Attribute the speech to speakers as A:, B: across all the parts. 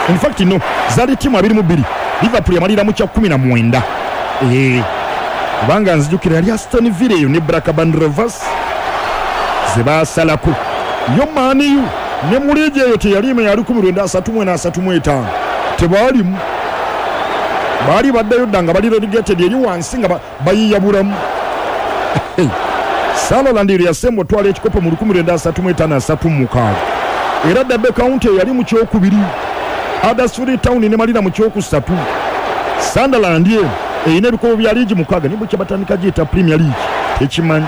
A: In fact no, zaali ttiimu 22, Liverpool yamalira mu kya 19. Eeh, kubanga nzijukira yali Aston Villa eyo ne Blackburn Rovers ze baasalako. Yo Man U ne mu liigi eyo teyaliimu ya 1934 35 tebaalimu. Baali baddayo dda nga bali relegated eri wansi nga bayiiya bulamu. Sunderland lwe yasemba otwala ekikopo mu 1935 36 era Derby County eyali mu kyokubiri, Huddersfield Town nemalira mu kyokusatu. Sunderland eno erina ebikopo bya liigi mukaaga naye bukya batandika giyita Premier League tekimanyi,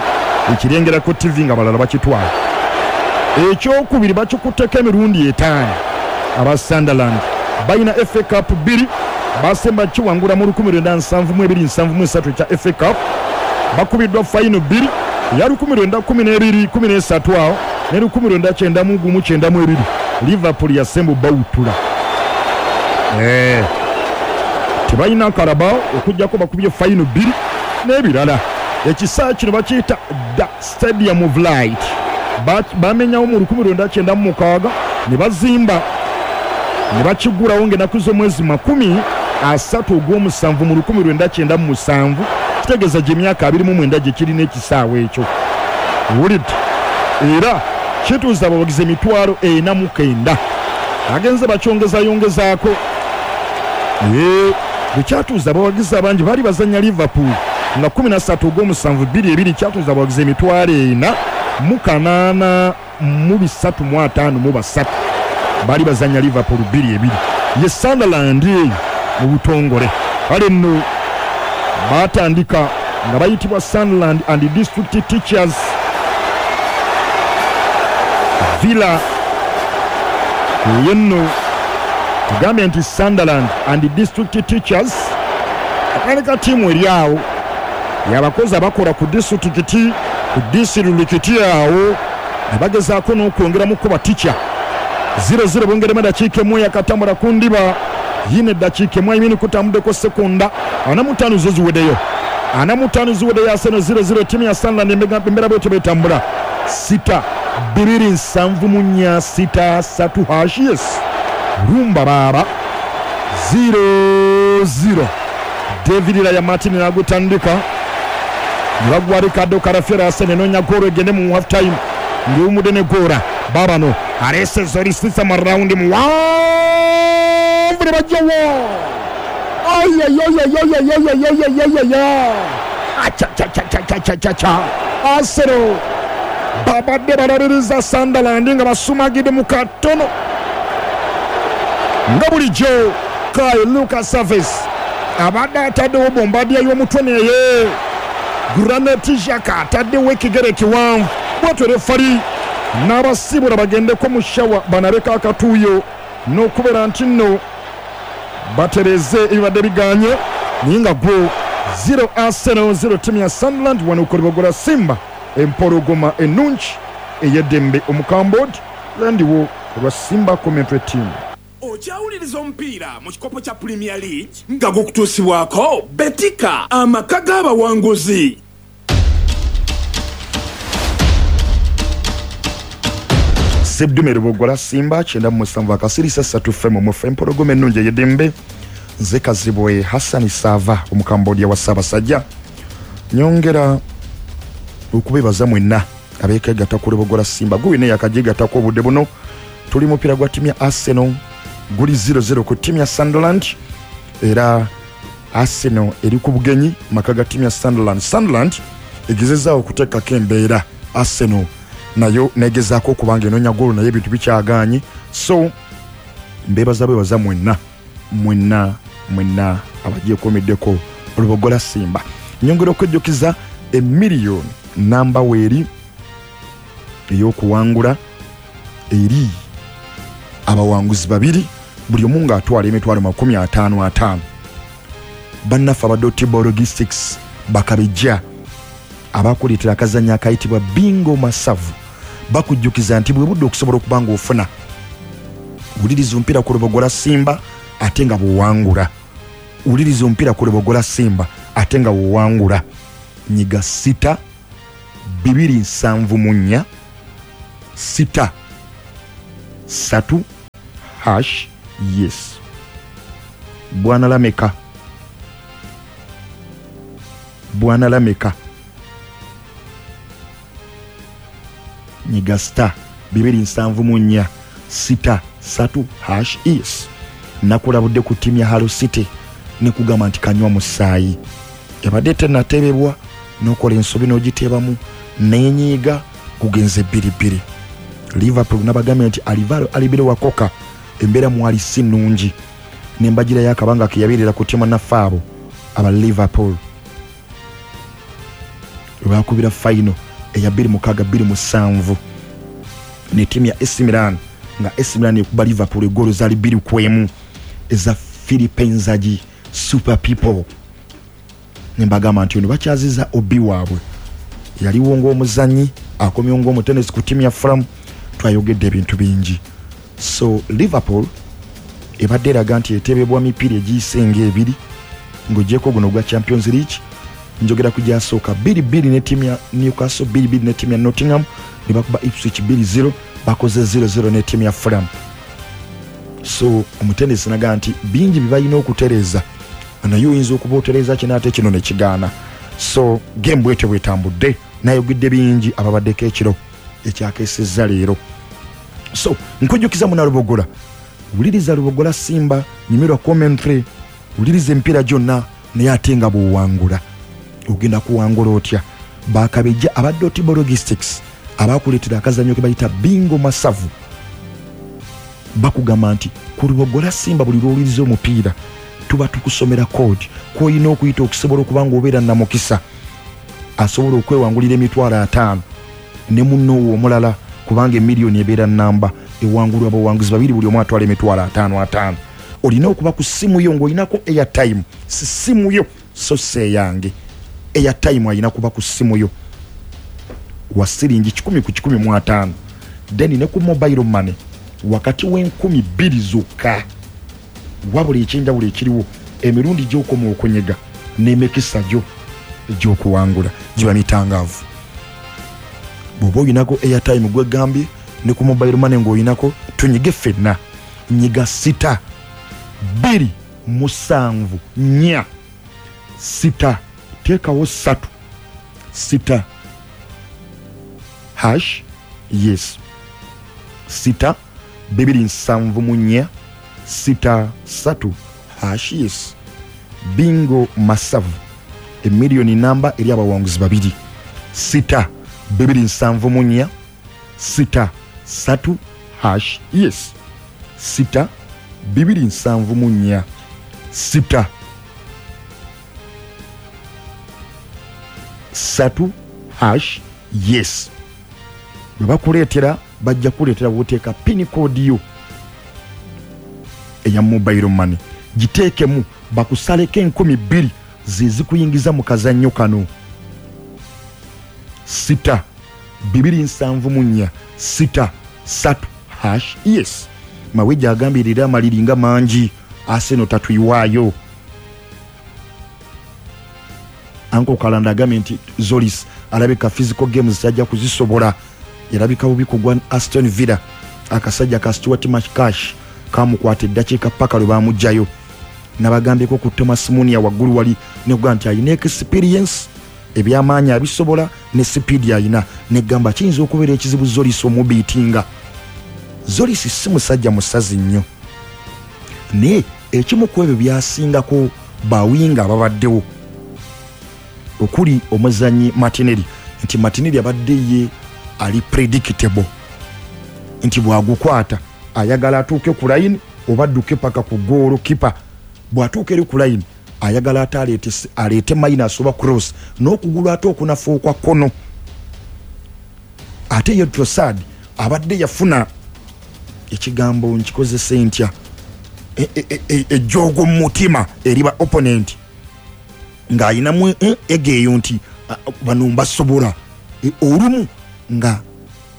A: ekirengera ku ttivi nga balala bakitwala. Ekyokubiri bakikutteko emirundi etaano aba Sunderland. Balina FA Cup bbiri, baasemba kiwangula mu 1972 73 ekya FA Cup. Bakubiddwa fayino bbiri, eya 1912 13 awo ne 1991 92. Liverpool yasemba obawuttula. Eeh, tebalina Carabao okuggyako bakubye fayino bbiri n'ebirala. Ekisaawe kino bakiyita The Stadium of Light. Bamenyawo mu 1996 ne bazimba ne bakiggulawo ng'ennaku z'omwezi 30 Ogwomusanvu mu 1997, kitegeeza gye myaka 29 gye kirina ekisaawe ekyo. Owulidde? Era kituuza abawagizi 409,000. Bagenze bakyongezayongezaako. Eeh, bwe kyatuuza abawagizi abangi baali bazannya Liverpool nga 13 Ogwomusanvu bbiri ebiri kyatuuza abawagizi 4,803 353 baali bazannya Liverpool bbiri ebiri. Ye Sunderland eyo mu butongole. Kale nno baatandika nga bayitibwa Sunderland and District Teachers Villa. Eyo nno tugambye nti Sunderland and District Teachers atandika ttiimu eri awo yabakozi abakola ku disitulikiti ku disitulikiti awo ne bagezaako n'okwongeramuko batica. 0-0 bongeremu eddakiika emu yakatambula ku ndiba yino eddakiika emu ayimini kutambuddeko sekonda 45 zo ziweddeyo 45 ziweddeyo Arsenal 0-0 ttiimu ya Sunderland embeera bwetyo betambula sita 274 6 3 hash yes rumba baaba 0-0 David Raya Martin n'agutandika ne bagwa Ricardo Calafiori. Arsenal enoonya goolo egende mu half time ng'ewummudde ne goora baabano aleese Zolisisa mu rawundi muwanvu ne bajjawo ayoyoyoyoyoyoyoyoyoyoyo acacacacacacaca Arsenal babadde balabiriza Sunderland nga basumagidde mu katono nga bulijjo. Kai Lucas Havertz abadde ataddewo bombadia y'omutwe naye Granit Xhaka ataddewo ekigere ekiwanvu bwatyo refali n'abasiibula bagendeko mu shawa banabeko akatuuyo n'okubeera nti nno batereeze ebibadde biganye naye nga gwo 0 Arsenal 0 ttiimu ya Sunderland wano ku Lubogola Simba empologoma ennungi ey'eddembe omukambod landiwo olwa Simba Commentary Team.
B: Okyawuliriza omupiira mu kikopo kya Premier League nga gukutuusibwako Betika, amaka g'abawanguzi.
A: Sseddume Lubogola Simba 97 akasirisa ssatu ffe mu mufe empologoma ennungi ey'eddembe. Nze Kazibwe Hassan Saava Omukambodia wa Ssaabasajja. Nyongera okubebaza mwenna abeekegatta ku Lubogola Simba. Gwe wenna eyakagyegattako obudde buno, tuli mupiira gwa ttiimu ya Arsenal guli 0-0 ku ttiimu ya Sunderland era Arsenal eri ku bugenyi maka ga ttiimu ya Sunderland. Sunderland egezezaawo okuteekako embeera Arsenal nayo negezaako okuba nga enoonya goolo naye ebintu bikyagaanye. So mbebaza bwebaza mwenna mwenna mwenna abagyekuumiddeko Lubogola Simba. Nyongera okwejjukiza emiliyoni namba weeri ey'okuwangula eri abawanguzi babiri buli omu ng'atwala emitwalo 50 ataano. Bannaffe aba Dotibo Logistics bakabejja abakuleetera akazannyo akayitibwa Bingo Masavu bakujjukiza nti bwe budde okusobola okuba ng'ofuna wuliriza omupiira ku Lubogola Simba ate nga bw'owangula. Wuliriza omupiira ku Lubogola Simba ate nga bw'owangula. Nyiga sita 274 sita 3 hash Yes, Bwana Lameka, Bwana Lameka, nyiga star 274 63 hash is. Nakulabudde ku ttiimu ya Hull City nekugamba nti kanywa musaayi, ebadde tenatebebwa n'okola ensobi n'ogiteebamu nenyiiga, gugenze 2-2. Liverpool nabagambye nti Alvaro Arbeloa Koka embeera mwali si nnungi, nembagirayo akabanga ke yabeerera ku ttiimu naffe abo aba Liverpool webakubira final eya 26-27 ne ttiimu ya AC Milan, nga AC Milan ekuba Liverpool egoolo zaali 2-1 eza Philippe Inzaghi Super People. Nembagamba nti ono bakyaziza obi waabwe, yaliwo ng'omuzannyi, akomyewo ng'omutenesi ku ttiimu ya Fulham. Twayogedde ebintu bingi. So Liverpool ebadde eraga nti etebebwa mipiira egiyise ng'ebiri, ng'ogyeko guno ogwa Champions League. Njogera ku gyasooka 2-2 ne ttiimu ya Newcastle, 2-2 ne ttiimu ya Nottingham, ne bakuba Ipswich 2-0, bakoze 0-0 ne ttiimu ya Fulham. So omutendesi naga nti bingi bye balina okutereeza, naye oyinza okuba otereeza kino ate kino ne kigaana. So game bwetyo bwetambudde, nayogedde bingi ababaddeko ekiro ekyakeesezza leero. So nkujjukiza muna Lubogola, wuliriza Lubogola Simba, nyumirwa commentary, wuliriza emipiira gyonna, naye ate nga bw'owangula ogenda kuwangula otya? Bakabejja aba Dotibo Logistics abakuleetera akazannyo ke bayita bingo masavu, bakugamba nti ku Lubogola Simba buli lw'owuliriza omupiira tuba tukusomera code kw'olina okuyita okusobola okuba ng'obeera namukisa asobola okwewangulira emitwalo 50 ne munno omulala, kubanga emiliyoni ebeera namba ewangulwa abawanguzi babiri, buli omu atwala emitwalo 50 50. Olina okuba ku ssimu yo ng'olinako airtime, si ssimu yo so si eyange, airtime alina kuba ku ssimu yo wa siringi 100 ku 150, then ne ku mobile money wakati w'en2,000 zokka. Wabula ekyenjawulo ekiriwo, emirundi gy'okoma okunyega n'emikisa gyo egy'okuwangula giba mitangaavu. Bw'oba oyinako airtime gwegambye ne ku mobile money ng'oyinako, tunyige ffenna. Nyiga 6 2 7 4 6 teekawo 3 6 hash. Yes, 6 2 7 4 6 3 hash. Yes, bingo masavu, emiliyoni namba eri abawanguzi babiri. 6 2 7 4 6 3 hash. Yes, 6 2 7 4 6 3 hash. Yes, bwe bakuleetera bajja kuleetera bwoteeka pin code yo eya mobile money, giteekemu bakusaleko 2,000 zezikuyingiza mu kazannyo kano. 6 2 7 4 6 3 hash. Yes, Mawejja agambye leero amaliri nga mangi, Arsenal tatuyiwaayo. Anko Kalanda agambye nti Tzolis alabika physical games tajja kuzisobola, yalabika bubi kugwa Aston Villa, akasajja ka Stuart McCash kamukwata eddakiika paka lwe bamugjayo. Nabagambyeko ku Thomas Munia waggulu wali nekugaa nti alina experience, ebyamaanyi abisobola ne sipiidi alina, negamba kiyinza okubeera ekizibu Tzolis omubiitinga. Tzolis si musajja musazi nnyo, naye ekimu ku ebyo byasingako bawinga ababaddewo okuli omuzanyi Martinelli, nti Martinelli abadde ye ali predictable, nti bwagukwata ayagala atuuke ku line oba adduke paka ku goal keeper. Bw'atuuka eri ku line ayagala ate aleete minus oba cross n'okugulu ate okunafu okwa kkono. Ate ye Trossard abadde yafuna ekigambo nkikozese ntya, ejjoogo mu mutima eri ba opponent, ng'ayinamu egeeyo nti bano mbasobola. Olumu nga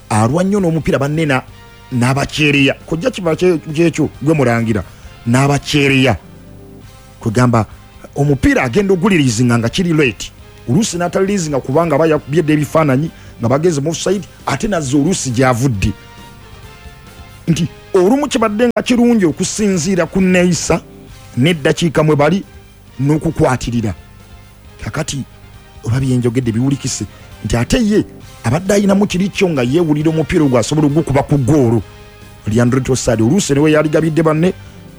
A: alwa nnyo n'omupiira banne n'abakyereya kojja kiba kyekyo gwe mulangira n'abakyereya, kwegamba omupiira agenda ogulirizinga nga kiri late, oluusi n'atalirizinga kubanga aba yakubyedde ebifaananyi nga bagenze mu offside, ate nazza oluusi gyavudde nti Olumu kibadde nga kirungi okusinziira ku neeyisa n'eddakiika mwe bali n'okukwatirira. Kakati oba byenjogedde biwulikise nti ate ye abadde ayinamu kiri kyo nga yeewulira omupiira ogwo asobola ogukuba ku ggoolo. Leandro Trossard oluusi ne we yaligabidde banne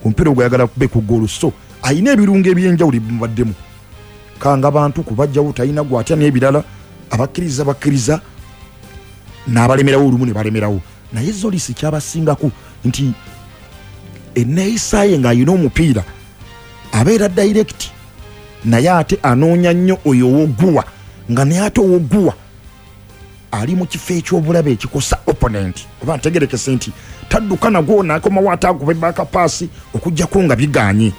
A: omupiira ogwo ayagala kube ku ggoolo, so ayina ebirungo eby'enjawulo ebimubaddemu kanga bantu kubajjawo, talina gwatya n'ebirala. Abakkiriza bakkiriza n'abalemerawo olumu ne balemerawo. Naye Tzolis kyabasingako nti enneeyisa ye ng'ayina omupiira abeera direct, naye ate anoonya nnyo oyo ow'oguwa, nga naye ate ow'oguwa ali mu kifo eky'obulabe ekikosa opponent. Oba ntegerekese nti tadduka nagwo n'akomawo ate akuba ebaaka paasi okuggyako nga biganye.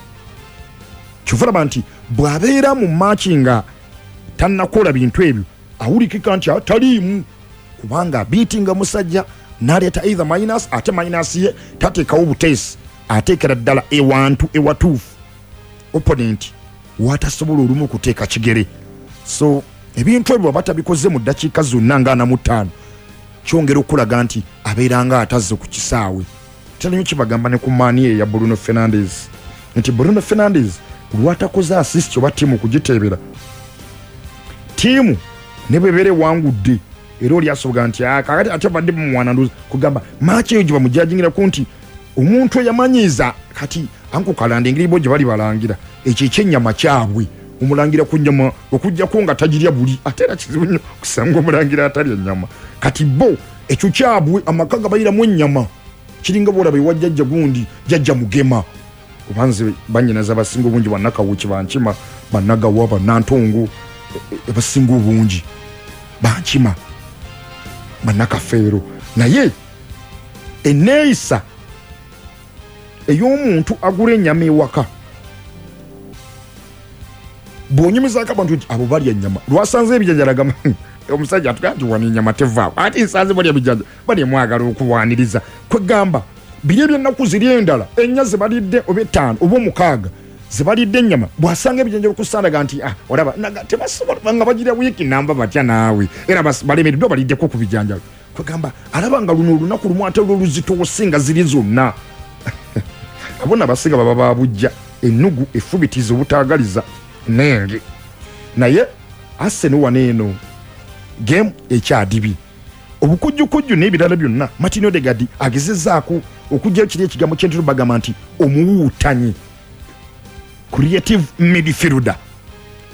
A: Kyova olaba nti bw'abeera mu maaki nga tannakola bintu ebyo awulikika nti ataliimu, kubanga abiitinga musajja n'aleeta either minus, ate minus ye tateekawo buteesi, ateekera ddala ewantu ewatuufu opponent watasobola olumu okuteeka kigere. So ebintu ebyo bw'aba tabikoze mu ddakiika zonna nga 45, kyongera okulaga nti abeera nga atazze ku kisaawe. Terinyo kibagamba ne ku maani ye ya Bruno Fernandes nti Bruno Fernandes lwatakoze assist oba ttiimu kugiteebera, ttiimu ne bwebeera ewangudde era oli asoboga nti kakati ate badde bamwana ndoza kugamba maaki eyo gye bamujajingirako nti omuntu eyamanyiiza. Kati anko kalanda engeri bo gye bali balangira ekyo ekyennyama kyabwe, omulangira ku nnyama okuggyako nga tagirya buli, ate era kizibu nnyo kusanga omulangira atalya nnyama. Kati bo ekyo kyabwe amaka gabayiramu ennyama, kiringa bwolaba ewa jjajja gundi, jjajja Mugema, oba nze bannyinaze abasinga obungi bannakawuki, bankima, bannagawa, bannantongo, abasinga obungi bankima, bannakafeero. Naye enneeyisa ey'omuntu agula ennyama ewaka, bw'onyumizaako abantu nti abo balya ennyama, lwasanze ebijanjalo agamba omusajja atugaa nti wano ennyama tevaawo, ate nsanze balya bijanjalo, bali mwagala okuwaniriza. Kwegamba biri ebyennaku ziri endala ennya ze balidde oba 5 oba 6 ze balidde ennyama, bw'asanga ebijanjalo ku ssandaga nti olaba tebasobola nga bagira wiiki namba batya naawe, era balemereddwa baliddeko ku bijanjalo. Kwegamba alaba nga luno olunaku lumu ate lwo luzitoose nga ziri zonna. Abo abasinga baba babujja ennugu efubitiza obutaagaliza nenge. Naye Arsenal wano eno game ekyadibye obukujjukujju n'ebirala byonna. Martin Odegaard agezezzaako okuggyayo kiri ekigambo kyentero bagamba nti omuwuutanyi, creative midfielder,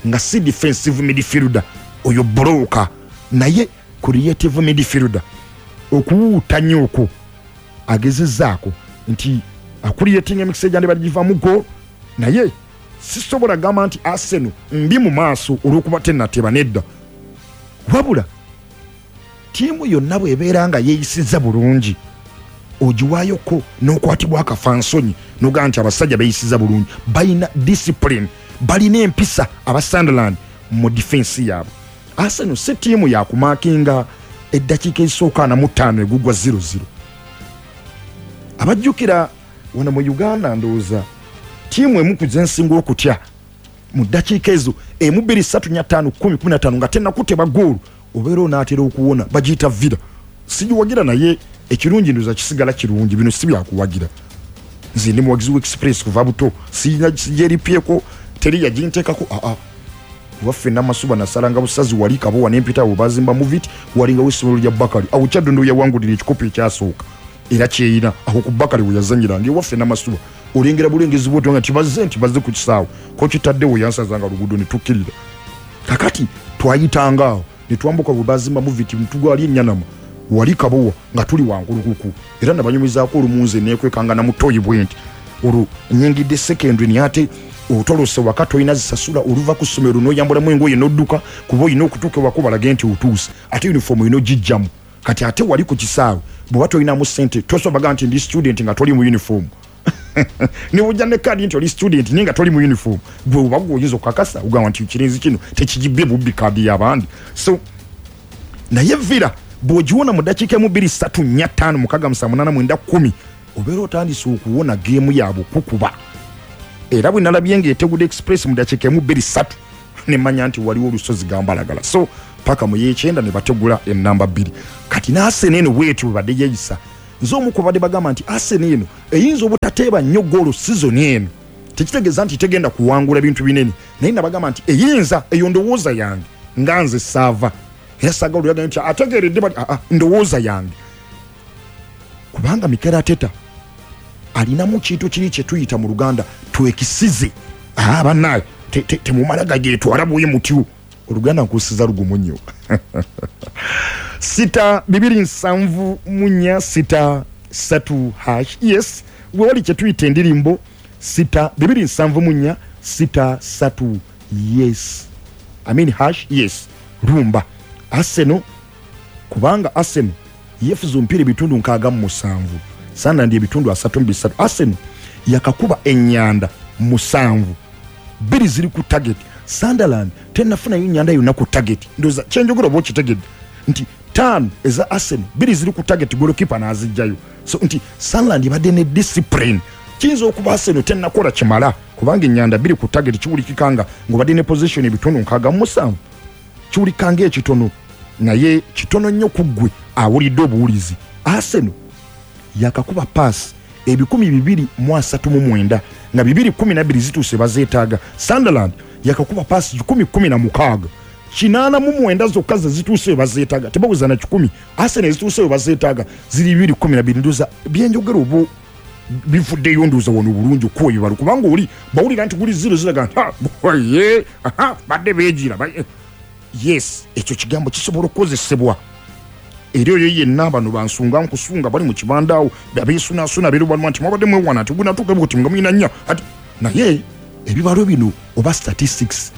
A: nga si defensive midfielder oyo broka, naye creative midfielder. Okuwuutanya okwo agezezzaako nti acreating emikisa egyandibadde givaamu goal, naye sisobola gamba nti Arsenal mbi mu maaso olw'okuba tennateba nedda. Wabula ttiimu yonna bw'ebeera nga yeeyisizza bulungi ogiwaayoko n'okwatibwa akafansonyi n'ogamba nti abasajja beeyisizza bulungi, balina discipline, balina empisa aba Sunderland mu defense yaabwe. Arsenal si ttiimu yakumakinga eddakiika ezisooka 45 egugwa 0-0. Abajjukira wano mu Uganda ndowooza ttiimu emu ku zensinga okutya mu ddakiika ezo 1 2 3 4 5 10 15 nga tennakuteba goolo obeera onaatera okuwona, bagiyita Villa. Sigiwagira, naye ekirungi ndowooza kisigala kirungi, bino si byakuwagira. Nze ndi muwagizi wa Express kuva buto, sigyeripyeko, teri yaginteekako. Aa, kuba ffenna Masuba nasalanga busazi wali Kabowa n'empita awo bazimba Movit, walingawo essomero lya Bakali awo Kyaddondo yawangulira ekikopo ekyasooka era kyeyina awo ku Bakali we yazanyiranga ewaffe Namasuba. Olengera bulengezi bwotyo nga tibazze nti bazze ku kisaawe ko kitaddewo yansazanga luguudo ne tukkirira. Kakati twayitanga awo ne twambuka bwe bazimba Movit ntugwali ennyanama wali Kabowa nga tuli wankulukuku, era nabanyumizaako olumu nze neekwekanga na mutoyi bwe nti olwo nyingidde secondary, naye ate otolose waka tolina zisasula, oluva ku ssomero n'oyambulamu engoye n'odduka kuba olina okutuuka ewaka obalage nti otuuse, ate uniform olina ogijjamu. Kati ate wali ku kisaawe bw'oba tolinamu ssente tosobola bagamba nti ndi student nga toli mu uniform, ne bw'ojja ne kaadi nti oli student naye nga toli mu uniform, gwe oba gwe oyinza okukakasa ogamba nti kirinzi kino tekigibbye bubbi kaadi y'abandi. So naye Villa bw'ogiwona mu ddakiika 1 2 3 4 5 6 7 8 9 10 obeera otandise okuwona geemu yaabwe okukuba. Era bwe nalabye ng'etegudde Express mu ddakiika 1 2 3 ne mmanya nti waliwo olusozi gambalagala, so paka mu y'ekyenda ne bategula ennamba 2. Kati n'Arsenal eno bwetyo bwe badde yeeyisa. Nze omu ku badde bagamba nti Arsenal eno eyinza obutateeba nnyo goolo season eno, tekitegeeza nti tegenda kuwangula bintu binene, naye nabagamba nti eyinza. Eyo ndowooza yange nga nze saava, era saagala oluyagala nti ategeeredde bati. Aa, ndowooza yange, kubanga Mikel Arteta alinamu kintu kiri kyetuyita mu Luganda twekisize. Aa, bannaye, temumala gagyetwala bwe mutyo. Oluganda nkusiza lugumu nnyo. 6 274 6 3 hash. Yes, wewali kyetuyita endirimbo 6 274 6 3, yes, I mean hash. Yes, rumba Arsenal, kubanga Arsenal yefuza omupiira ebitundu 67, Sunderland ebitundu 33. Arsenal yakakuba enyanda musanvu, bbiri ziri ku target. Sunderland tenafunayo nyanda yonna ku target. Ndowooza kyenjogera oba okitegedde nti taano eza Arsenal, bbiri ziri ku target, golokipa n'azijjayo. So nti Sunderland ebadde ne discipline. Kiyinza okuba Arsenal tenakola kimala, kubanga enyanda bbiri ku target kiwulikika nga ng'obadde ne possession ebitundu 67, kiwulika ngaekitono, naye kitono nnyo ku ggwe awulidde obuwulizi. Arsenal yakakuba paasi 2,239, nga 212 zituuse bazeetaaga. Sunderland yakakuba paasi 116, 89 zokka ze zituuse bazeetaaga, tebaweza na 100. Arsenal ezituuse we bazeetaaga ziri 212. Ndowooza byenjogera oba bivuddeyo, ndowooza wano bulungi okuwa ebibalo, kubanga oli bawulira nti guli zero ziraga nti "Ha, ye aha, badde beegira Yes, ekyo kigambo kisobola okukozesebwa era oyo yenna bano bansunga nkusunga bali mu kibandaawo abeesunasuna beerubaluma nti mwabadde mwewana nti gunatuuka buti nga mulina nnya ati. Naye ebibalo bino oba statistics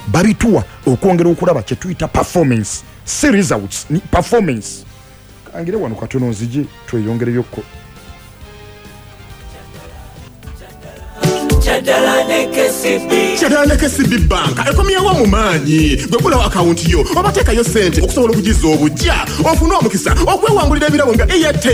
A: babituwa okwongera okulaba kye tuyita performance, si results, ni performance. Kangire wano katono nzije tweyongereyokko.
C: Kyaddala ne KCB.
B: Kyaddala ne KCB Bank ekomyewo mu maanyi. Gwe gulawo akawunti yo oba teekayo ssente okusobola okugiza obujja, ofune omukisa okwewangulira ebirabo nga Airtel.